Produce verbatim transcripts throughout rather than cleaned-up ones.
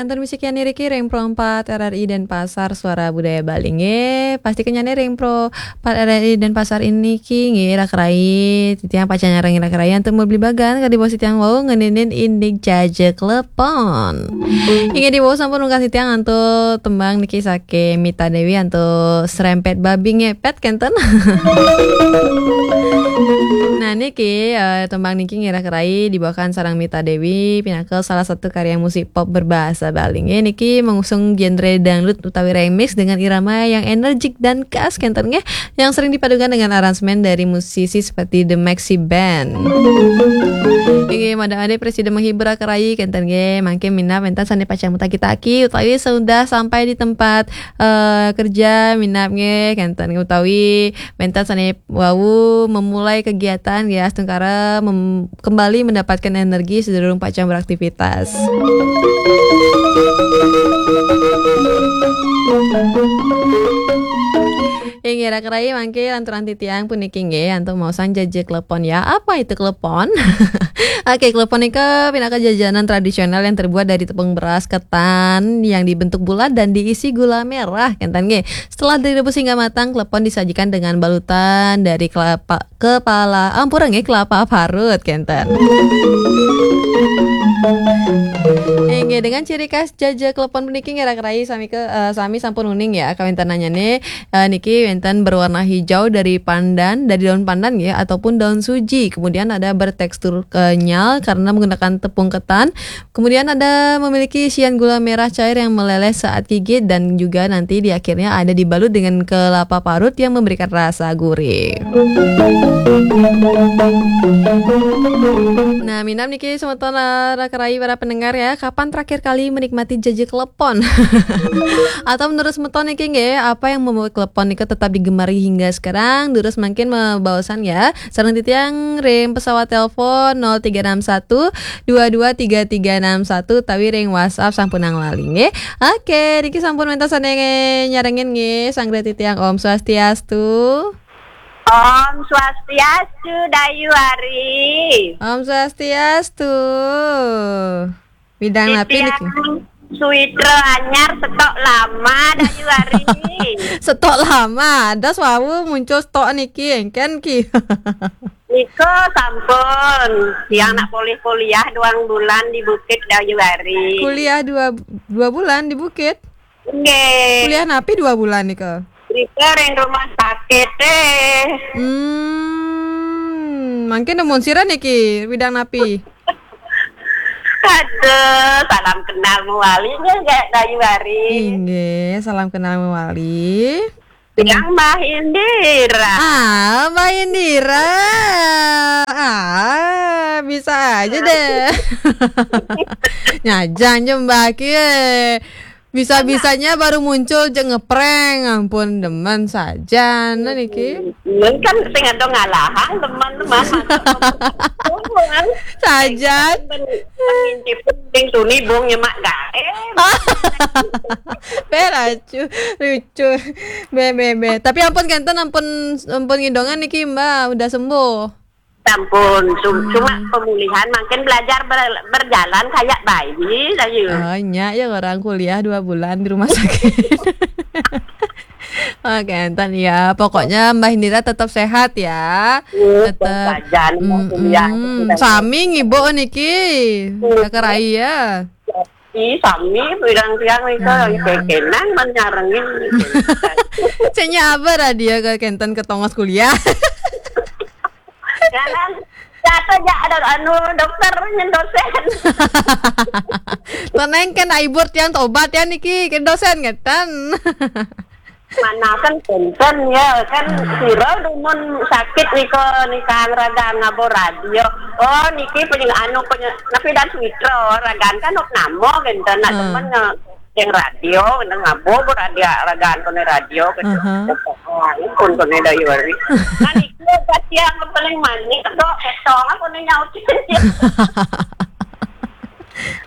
Kantor misi kian niki ring Pro empat R R I Denpasar, Suara Budaya Bali nggih. Pasti kenyane ring Pro empat R R I Denpasar ini ki nggih, Ira Kerai. Titiang pacang nyarengin Ira Kerai antuk mabligbagan kadi bos titiang wau ngeninin indik jaja klepon. Inggih, di wau sampun ungkas titiang antuk tembang niki saking Mita Dewi antuk Serempet Babi Ngepet kenten. Nah, niki, eh, tembang niki nggih, Ira Kerai dibawakan sareng Mita Dewi pinaka salah satu karya musik pop berbahasa Bali nggih. Niki mengusung genre dangdut utawi remix dengan irama yang energik dan khas kenten nggih, yang sering dipadukan dengan aransemen dari musisi seperti The Maxi Band. Inggih, mada ade presida menghibur Ira Kerai kenten nggih, mangkin minab wenten sane pacang mutaki-taki utawi sudah sampai di tempat, eh, kerja minab nggih kenten nggih, utawi wenten sane wau memulai kegiatan nggih, astungkara mem-, kembali mendapatkan energi sedurung pacang beraktivitas. Inggih, Ira Kerai mangke lanturang titiang puniki nggih, antuk maosang jaja klepon ya. Apa itu klepon? Oke, klepon nika pinaka jajanan tradisional yang terbuat dari tepung beras ketan yang dibentuk bulat dan diisi gula merah, kenten nggih. Setelah direbus hingga matang, klepon disajikan dengan balutan dari kelapa, kepala, ampura nggih, kelapa parut, kenten. Inggih, dengan ciri khas jaja klepon puniki nggih, Ira Kerai sami ke, eh, sami sampun uning ya, kawentenannyane, eh, niki wenten berwarna hijau dari pandan, dari daun pandan nggih, ataupun daun suji. Kemudian ada bertekstur kenyal karena menggunakan tepung ketan. Kemudian ada memiliki isian gula merah cair yang meleleh saat gigit dan juga nanti di akhirnya ada dibalut dengan kelapa parut yang memberikan rasa gurih. Nah, minab niki semeton, eh, Ira Kerai para pendengar ya, kapan terakhir kali menikmati jaja klepon? Atau menurut semeton niki nggih, apa yang membuat klepon nika tetap digemari hingga sekarang? Durus mangkin mabaosan ya. Sareng titiang ring pesawat telepon nol tiga enam satu dua dua tiga tiga enam satu utawi ring WhatsApp sampunang lali nggih. Oke, niki sampun wenten sane nyarengin nggih, sareng titiang Om Swastiastu. Om Swastiastu, Dayu Ari. Om Swastiastu. Widang napi niki? Titiang Suitra Anyar, stok lama, Dayu Ari. Stok lama, ada wau muncul stok niki, engken ki. Nika sampun, tiang nak polih kuliah dua bulan di Bukit, Dayu Ari. Kuliah dua, dua bulan di Bukit? Nggih. Kuliah napi dua bulan nika? Rika ring rumah sakit eh. Hmm, mangkin nemun sira niki, widang napi? Aduh, salam kenal mawali nggih, Dayu Ari. Inggih, salam kenal mawali. Yang Mbah Indira. Ah, Mbah Indira. Ah, bisa aja deh. Nyajang je Mbah ki. Bisa-bisanya baru muncul je ngeprank. Ampun, demen sajan niki. Mun kan sing ada ngalahang, teman-teman. Sajan. Pengintip penting tuni bung nyemak gae. Beracu, lucu. Be, be, be. Tapi ampun kenten, ampun, ampun ngidongan niki, Mbak, udah sembuh. Ampun, cum- cuma pemulihan makin belajar ber- berjalan kayak bayi saja. Oh, nya ya, orang kuliah dua bulan di rumah sakit. Oke, enten ya. Pokoknya Mbah Indira tetap sehat ya. Iya, tetap saja, Mbah, kuliah. Mm-mm. Sami ngibu niki. Iya. Kakak Rai ya. Ih, sami pirang tiang nika, hmm, kenang menyarengin. Cenya apa radio ke kenten ketongos kuliah? Jalan jatuh ja ada anu dokter nyen dosen. Teneng kan aibur tiang tobat ya niki ke dosen ngeten. Manakan kenten ya kan, hmm, sira dumun sakit nika, nika raga ngabo radio. Oh, niki penyeng anu penye- napi dan Suitra ragan kan ok nama kenten nak, hmm, temen nge- yang radio kenten ngabo radio ragan kene radio kenten. Aha. Oh, pun kene Dayu Ari. Nah, niki pas yang paling manis kok ketong aku nih nyautin.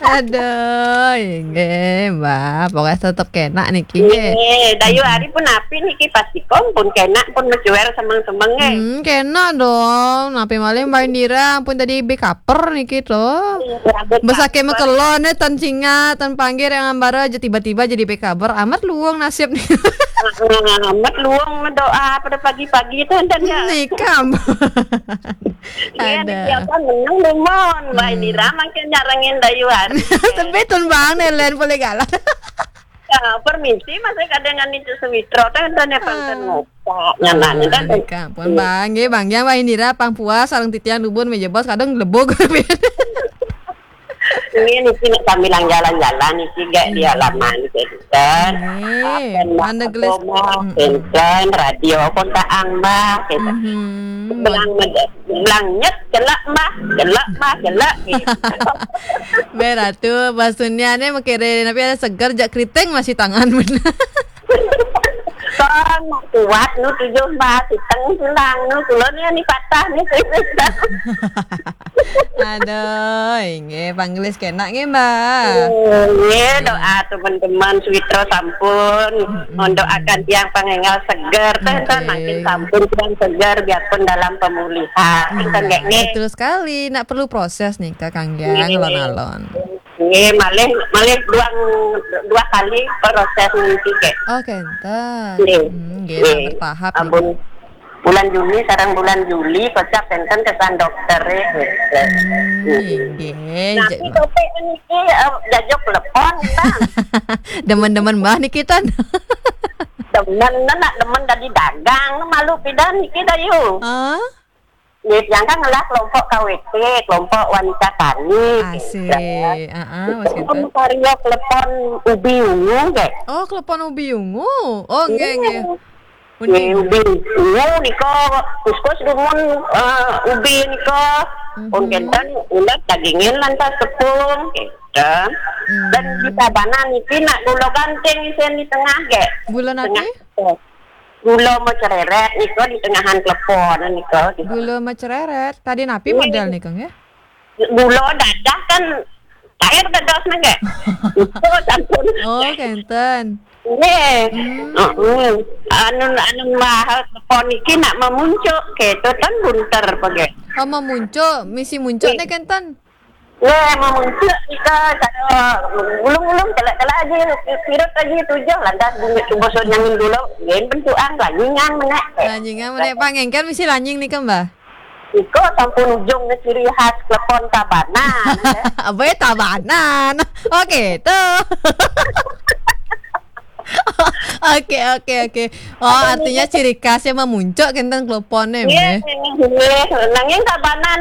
Aduh, inggih, Mbah. Pokoknya tetep kenak niki, nggih. Nggih, Dayu Ari pun api niki, pasti kom pun kenak pun mecuer semeng-semeng, nggih. Hmm, kenak dong. Napi malih Mbah Indira ampun tadi bekaper niki to. Iya, rambut besake kaper. Mekelon, eh, tan cingat, tan panggir yang ambara aja tiba-tiba jadi bekaper. Amat luwung nasib nih. Amat luwung doa pada pagi-pagi to, enten ya. Nikam. Iya, ada. Niki apa menang dumon, Mbah Indira makin nyarengin Dayu Ari. Tebih tun Bang Nelen boleh galak. Ya, permisi, masih kadang niku Sawitra, teh, teh, teh, teh, ngopak, nyananya, teh, teh. Nikam pun Bang, nggih, Bang, yang Mbah Indira pang puas, sareng titiang dubun, meja bos, kadang lebog. Ini niki nak sambilang jalan-jalan, niki gak di halaman, gitu, kan. Nggih, kan, mana gelis. Enten, radio, kontak ang, Mbah, gitu. Mhm. Belang, belang nyet, celak, Mbah, celak, Mbah, celak, gitu. Mbah Ratu, Mbah Sunia ni mengkira, tapi ada seger, jak keriting masih tangan, bener. Kon, kuat, nu tujuh, Mbah, siteng, silang, nu, kulon, ya, ni patah, ni, Aduh, inggih, panggelis kenak nggih, Mbah. Oh, nggih, doa teman-teman Sawitra sampun. Mm-mm. Mendoakan tiang pangenggal seger, teh, nggih, kan, makin sampun tiang seger, biarpun dalam pemulihan. Iya, kan, nggih, nggih. Betul sekali. Nak perlu proses nih, Kak Kanggiang, nggih, alon-alon. Nggih, malih, malih dua, dua kali proses niki, nggih. Oh, kenten. Nggih. Hmm, nggih, nggih. Bertahap nih. Ampun. Bulan Juni sareng bulan Juli kocap enten kesan dokter, eh. Hmm, nggih. Nah, ja- tapi topik niki, eh, jajok telepon, Bang. Demen-demen Mbah niki, Tan. Demen, nak demen dadi dagang, malu pidan niki, Dayu. Hah? Nggih, tiang kan ngelah kelompok K W T, kelompok wanita tani, gitu. Asik. Heeh, Mas Kenten. Karya klepon ubi ungu, nggih. Oh, klepon ubi ungu. Oh, nggih, nggih. Iya. Uning. Nggih, ubi ungu nika, kuskus dumun, eh, ubi nika. Mhm. Pun kenten, ulet dagingin lantas tepung, gitu. Hmm. Dan di tabanan niki nak gula ganting isin di tengah, nggih. Gula napi? Tengah. Gula mecereret nika di tengahan klepon nika. Gula mecereret. Tadi napi model nika, nggih? Gula dadah kan air dados nggih. Itu sampun. Oh, kenten. Nggih. Hmm. Heeh. Anu, anu mahal klepon niki nak memuncuk, gitu, tan bunter apa nggih. Oh, memuncuk, misi muncuk nggih, nih kenten. Nggih, memuncuk nika cara gulung-gulung, celak-celak aja, sirut aja tujuh, lantas bunyi cuba nyangin dulu, nggih, bentukan, lanyingan menek. Lanyingan menek, pangengken misi lanying nika, Mbah? Nika sampun ujung ciri khas klepon tabanan, ya. Apa ya tabanan? Oke, tuh. Oke, oke, oke. Oh, artinya ciri khasnya memuncuk kenten klepone, nggih, nggih. Nanging tabanan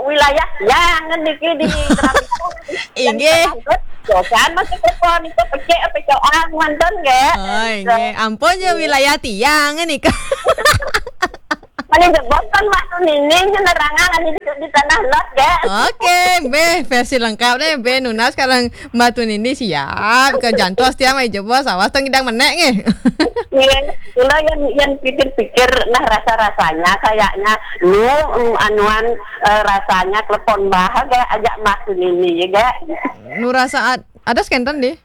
wilayah yang niki di Keramik. Inggih. Dosan masih klepon itu pecik apa coang manten, nggih. Oh, inggih. Ampun ya, wilayah tiang nika. Paling jebos kan waktu nini nerangan di, di Tanah Lot, nggih. Oke, Mbah, versi lengkap nih, Mbah Nunas kalau Mbah Tunini siap, ke jantos tiang mai jebos, awas tong idang menek nggih. Iya, kula yang, yang pikir-pikir, nah, rasa-rasanya kayaknya lu, mm, anuan, eh, rasanya klepon Mbah, nggih, ajak Mbah Tunini, ya, nggih. Nu rasa ad-, ada skenten deh.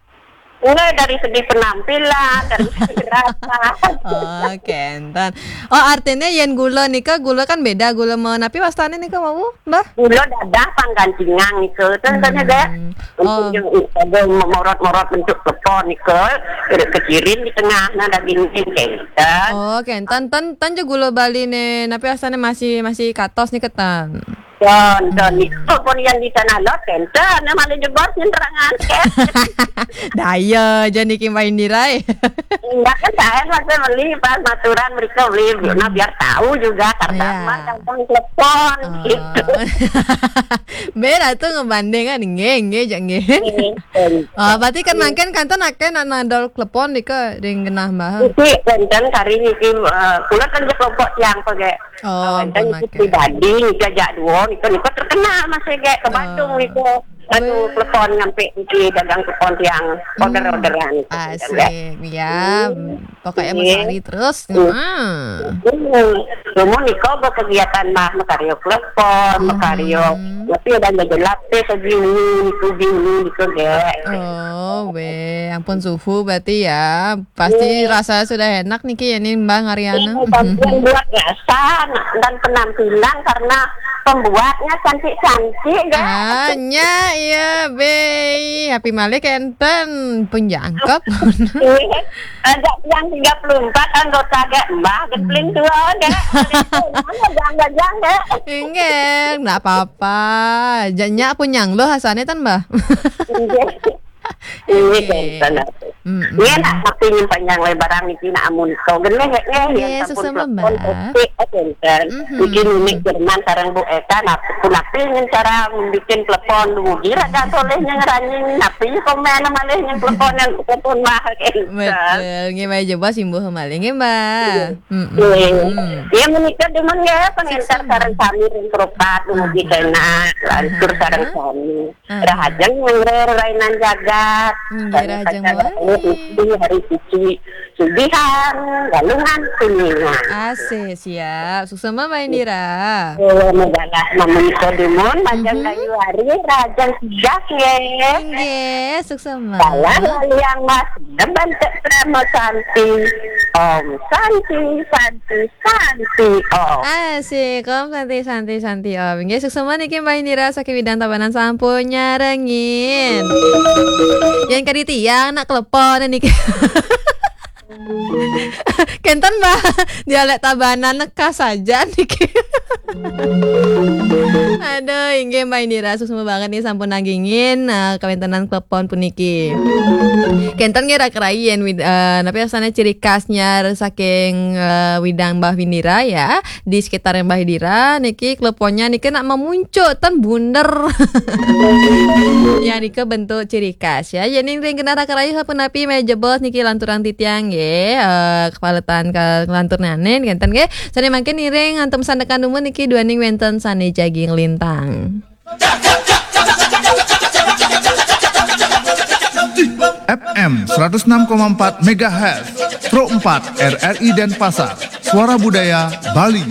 Enggak, dari segi penampilan, dari segi rasa. Oh, kenten. Oh, artinya yen gula nika, gula kan beda, gula menapi wastane nika wau, Mbah? Gula dadah panggancingan nika, ten, ten, nggih. Hmm. Untuk yang ada morot-morot bentuk klepon nika, kecirin di tengah, nah, daging kenten. Oh, kenten. Ten, ten je gula Bali ne, napi wastane masih, masih katos nika, ten? Don, don, hmm, itu pun yang di Tanah Lot, kenten, yang malah jebos, yang terangan, kan? Daya aja niki main dirai. Enggak kan, saya masih beli pas maturan mereka beli, nah, biar tahu juga, karena ya, mah gampang telepon, oh, gitu. Beda tuh ngebandingan, nggih, nggih, jak nggih. Nggih, nggih. Oh, berarti kan mangkin kanten akeh nak nadol klepon nika ring genah Mbah. Iki kenten kari niki, eh, kula kan kelompok tiang pakai. Oh, ampun, itu pribadi, nika jak dua, nika, nika terkenal masih gek ke Badung, oh, nika. Anu, telepon ngampe iki dagang telepon tiang order-orderan. Asik, ya. Pokoknya mau cari terus. Hmm. Hmm. Lumun niko berkegiatan mah, makaryo telepon, makaryo. Tapi ada nggak jelas deh, ke Juni, ke Juni, gitu deh. Oh, weh, ampun suhu berarti ya. Pasti rasa sudah enak niki ya nih, Mbak Ariana. Iya, tapi yang buat rasa dan penampilan karena pembuatnya cantik-cantik, gak? Ah, nya, iya, Bei. Happy malih kenten pun jangkep. Iya. Ajak yang tiga puluh empat anggota gak, Mbah, gempling dua, gak? Jangan, jangan, gak? Enggak, enggak apa-apa. Janya pun nyang lo hasane tan, Mbah. Iya. Ini kan. Iya, nak tapi nyimpan yang lebaran niki nak amun kau geneh, ya, ya, ya, sampun susah telepon, membah. Oke, oh, benten. Mhm. Bikin ini Jerman sareng Bu Eka, nak pun aku ingin cara bikin telepon dulu. Gira gak soleh yang ranying, tapi komen malih yang telepon yang telepon mah, gitu. Betul, nggih, Mbak, jebos imbuh malih, nggih, Mbak. Iya. Mm-mm. Iya. Iya, menikah demen ya, pengantar sareng sami ring kerupat, dumugi kena, lantur sareng sami. Rahajeng nyangre rainan jagat. Nggih, rahajeng mawali. Hari suci, hari suci, sugihan, galungan, kuningan. Asih, siap. Suksema, Mbak Indira. Oh, megalah memenika dumun, majeng kayu hari, rahajeng sidak, nggih. Nggih, suksema. Salah laliang mas, deban tek prama santi. Om santi, santi, santi, om. Asik, om santi, santi, santi, om. Nggih, suksema niki Mbak Indira saking Widang Tabanan sampun nyarengin. Yang kadi tiang nak telepon niki. Kenten, Mbak, dialek Tabanan neka saja niki. Aduh, inggih Mbak Indira, suksema banget nih sampun nanggingin, eh, kawentenan telepon puniki. Kenten nggih rak rayen wid-, eh, napi asane ciri khasnya saking, eh, Widang Mbah Indira ya, di sekitar Mbah Indira niki teleponnya niki nak memuncuk ten bunder. Ya, nika bentuk ciri khas ya. Jadi ring genah rak rayu sapunapi meh jebos niki lanturang titiang nggih, eh, kepaletan ke lantur nane kenten nggih. Sane mangkin iring antum sandekan dumun niki duaning wenten sane jagi nglintang. F M seratus enam koma empat megahertz, Pro empat R R I Denpasar, Suara Budaya Bali.